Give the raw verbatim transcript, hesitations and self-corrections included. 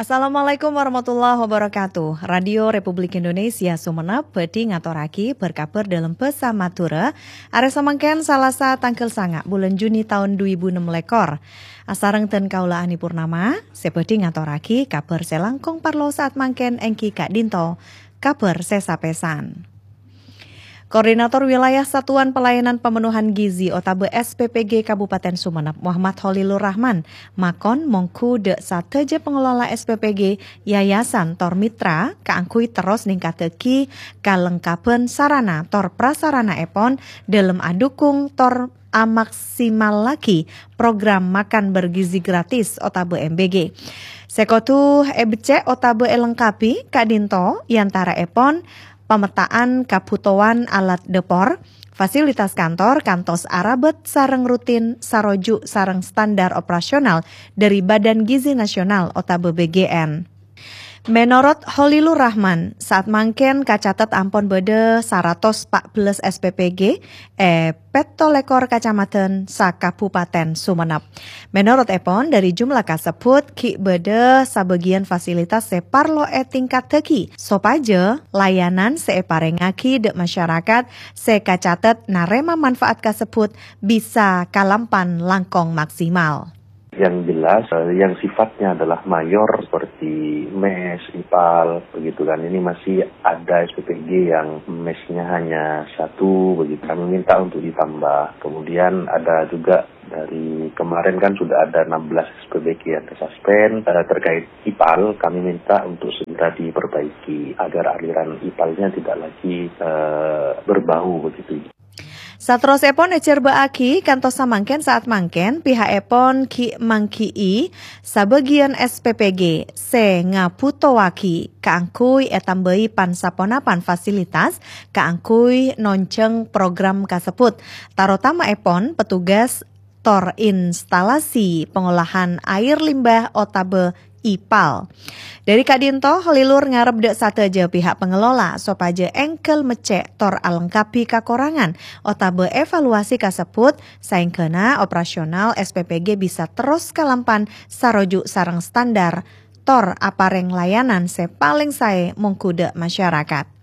Assalamualaikum warahmatullahi wabarakatuh. Radio Republik Indonesia Sumenep bhâdhi ngatorraghi bâr-kabhâr dâlem bhâsa Madhurâ, arè samangkèn Salasa tangghâl sanga' bulân Juni taon dhu èbu ennem lèkor. Asareng dân kaulâ Ani Purnama, sè bhâdhi ngatorraghi kabhâr sè langkong parlo sa'at mangkèn èngghi ka'dinto kabhâr sè sapèsan. Koordinator Wilayah Satuan Pelayanan Pemenuhan Gizi otabâ S P P G Kabupaten Sumenep, Muhammad Holilur Rahman, makon mongghu dâ' sadhâjâ pangelola S P P G, yayasan tor mitra kaangghuy terros ningkataghi kalengkabhân sarana tor prasaranaèpon dâlem adhukung tor amaksimallaghi program makan bergizi gratis otabâ M B G. Sè kodhu èbeccè' otabâ èlengkabi ka'dinto è antaraèpon pametta'an kabhutowan alat dâpor, fasilitas kantor kantos arabât sareng rutin saroju' sareng standar operasional dâri Badan Gizi Nasional otabâ B G N. Menorot Holilur Rahman, sa'at mangkèn kacatet ampon bâdâ saratos empa' bellâs S P P G è pètto lèkor kacamadhân sa-Kabupaten Sumenep. Menorotèpon, dâri jumlah kasebbhut ghi' bâdâ sabâgiyân fasilitas sè parlo ètingkattaghi sopajâ layanan sè èparèngngaghi dâ' masyarakat sè kacatet narèma manfaat kasebbhut bisa kalampan langkong maksimal. Yang jelas, eh, yang sifatnya adalah mayor seperti mes, ipal, begitu kan. Ini masih ada S P P G yang mesnya hanya satu, begitu. Kami minta untuk ditambah. Kemudian ada juga dari kemarin kan sudah ada enam belas S P P G yang tersuspend. Eh, terkait ipal, kami minta untuk segera diperbaiki agar aliran ipalnya tidak lagi, eh, berbau begitu. Saterrossèpon èjhârbâ'âghi kantos samangkèn sa'at mangkèn piha'èpon ghi' mangghi'i sabâgiyân S P P G sè ngabhutowaghi kaangghuy ètambâi pan-saponapan fasilitas kaangghuy nonjhâng program kasebbhut, tarotamaèpon petugas tor instalasi pengolahan air limbah otabâ ipal. Dâri ka'dinto, Holilur ngarep dâ' sadhâjâ pihak pengelola sopajâ èngghâl meccè' tor alengkabi kakorangan otabâ evaluasi kasebbhut saèngghâna operasional S P P G bisa terros kalampan saroju' sareng standar tor aparèng layanan sè palèng saè mongghu dâ' masyarakat.